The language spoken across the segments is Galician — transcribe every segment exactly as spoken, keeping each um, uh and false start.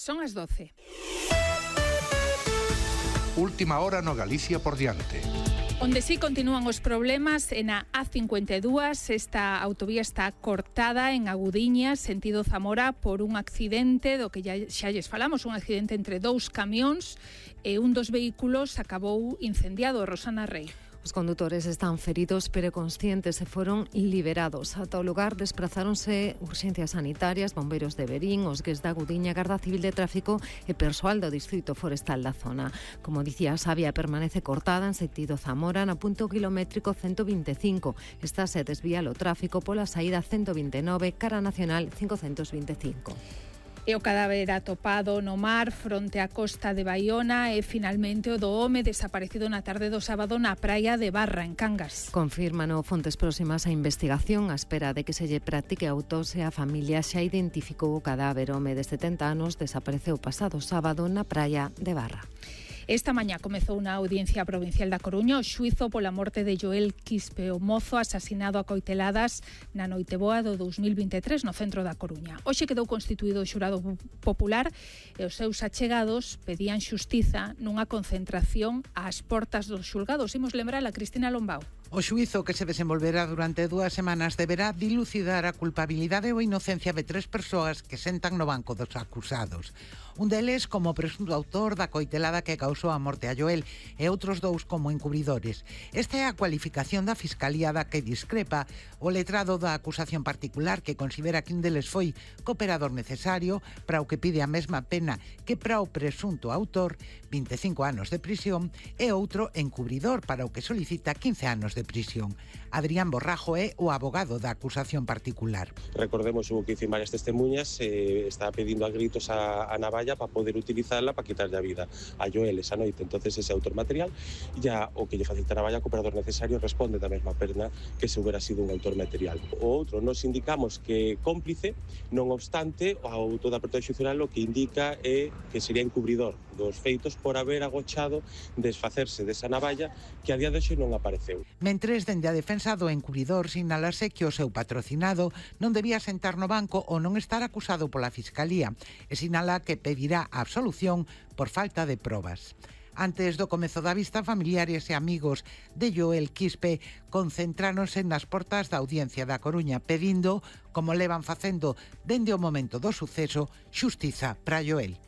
Son as doce. Última hora no Galicia por diante. Onde sí continúan os problemas é na A cincuenta e dúas. Esta autovía está cortada en Agudiña, sentido Zamora, por un accidente do que xa lles falamos, un accidente entre dous camións e un dos vehículos acabou incendiado. Rosana Rey. Os condutores están feridos pero conscientes e foron liberados. Ata o lugar desprazáronse urxencias sanitarias, bombeiros de Verín, os gues da Agudiña, Garda Civil de Tráfico e persoal do Distrito Forestal da zona. Como dicía, a vía permanece cortada en sentido Zamora no punto kilométrico ciento vinte e cinco. Está se desvía o tráfico pola saída ciento vinte e nove, cara nacional cincocentos vinte e cinco. E o cadáver atopado no mar fronte á costa de Baiona e finalmente o do home desaparecido na tarde do sábado na praia de Barra, en Cangas. Confirman fontes próximas á investigación. A espera de que se lle practique a autopsia, a familia xa identificou o cadáver. O home de setenta anos desapareceu pasado sábado na praia de Barra. Esta mañá comezou na Audiencia Provincial da Coruña o xuízo pola morte de Joel Quispe, o mozo asasinado a coiteladas na Noiteboa do dous mil vinte e tres no centro da Coruña. Hoxe quedou constituído o xurado popular e os seus achegados pedían xustiza nunha concentración ás portas dos xulgados. Imos lembrar a Cristina Lombao. O xuízo, que se desenvolverá durante dúas semanas, deberá dilucidar a culpabilidade ou inocencia de tres persoas que sentan no banco dos acusados. Un deles como presunto autor da coitelada que causou a morte a Joel e outros dous como encubridores. Esta é a cualificación da Fiscalía da que discrepa o letrado da acusación particular, que considera que un deles foi cooperador necesario para o que pide a mesma pena que para o presunto autor, vinte e cinco anos de prisión, e outro encubridor para o que solicita quince anos de prisión. Adrián Borrajo é o abogado da acusación particular. Recordemos, hubo que dicir varias testemunhas, eh, estaba pedindo a gritos a, a navalla para poder utilizarla para quitarle a vida a Joel esa noite. Entonces ese autor material, ya o que lle facilita a navalla, cooperador necesario, responde da mesma pena que se hubiera sido un autor material. O outro, nos indicamos que cómplice, non obstante, o auto da apertura xudicial o que indica é que sería encubridor dos feitos por haber agochado desfacerse desa navalla que a día de hoxe non apareceu. Mentres, dende a defensa do encubridor, sinalase que o seu patrocinado non debía sentar no banco ou non estar acusado pola Fiscalía, e sinala que pedirá a absolución por falta de probas. Antes do comezo da vista, familiares e amigos de Joel Quispe concentráronse nas portas da Audiencia da Coruña pedindo, como levan facendo dende o momento do suceso, xustiza para Joel.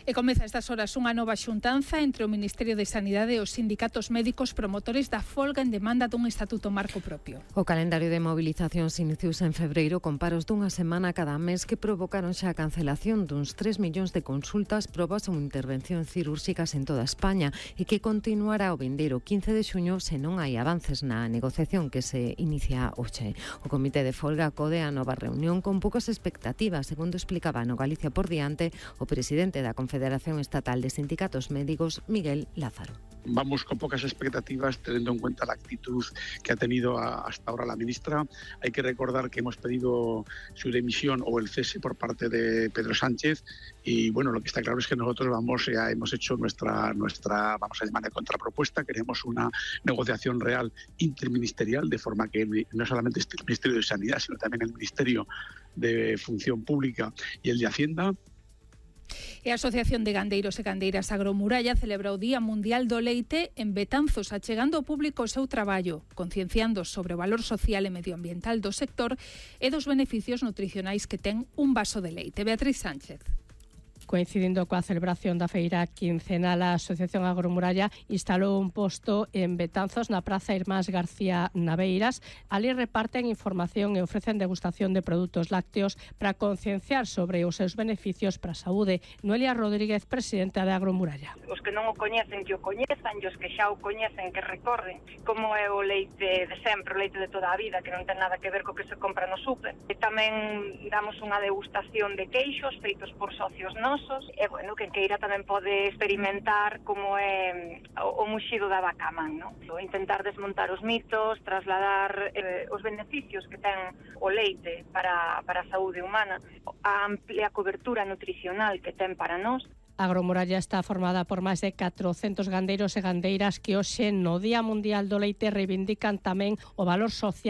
E comeza a estas horas unha nova xuntanza entre o Ministerio de Sanidade e os sindicatos médicos promotores da folga en demanda dun estatuto marco propio. O calendario de movilizacións iniciouse en febreiro con paros dunha semana cada mes que provocaron xa a cancelación duns tres millóns de consultas, probas ou intervencións cirúrxicas en toda España e que continuará o vindeiro quince de xuño se non hai avances na negociación que se inicia hoxe. O Comité de Folga acode a nova reunión con poucas expectativas, segundo explicaba no Galicia por diante o presidente da Confederación Federación Estatal de Sindicatos Médicos, Miguel Lázaro. Vamos con pocas expectativas, teniendo en cuenta la actitud que ha tenido a, hasta ahora la ministra. Hay que recordar que hemos pedido su dimisión o el cese por parte de Pedro Sánchez y bueno, lo que está claro es que nosotros vamos ya hemos hecho nuestra nuestra vamos a llamar de contrapropuesta. Queremos una negociación real interministerial, de forma que no solamente esté el Ministerio de Sanidad, sino también el Ministerio de Función Pública y el de Hacienda. E a Asociación de Gandeiros e Gandeiras Agromuralla celebra o Día Mundial do Leite en Betanzos, achegando ao público o seu traballo, concienciando sobre o valor social e medioambiental do sector e dos beneficios nutricionais que ten un vaso de leite. Beatriz Sánchez. Coincidindo coa celebración da feira quincenal, a Asociación Agromuralla instalou un posto en Betanzos na Praza Irmás García Naveiras. Ali reparten información e ofrecen degustación de produtos lácteos para concienciar sobre os seus beneficios para a saúde. Noelia Rodríguez, presidenta de Agromuralla. Os que non o coñecen, que o coñezan, e os que xa o coñecen, que recorden como é o leite de sempre, o leite de toda a vida, que non ten nada que ver co que se compra no súper. E tamén damos unha degustación de queixos feitos por socios nosos. E, bueno, que queira tamén pode experimentar como é o, o muxido da vaca man, non? Intentar desmontar os mitos, trasladar eh, os beneficios que ten o leite para, para a saúde humana, a amplia cobertura nutricional que ten para nós. Agromuralla está formada por máis de catrocentos gandeiros e gandeiras que hoxe no Día Mundial do Leite reivindican tamén o valor social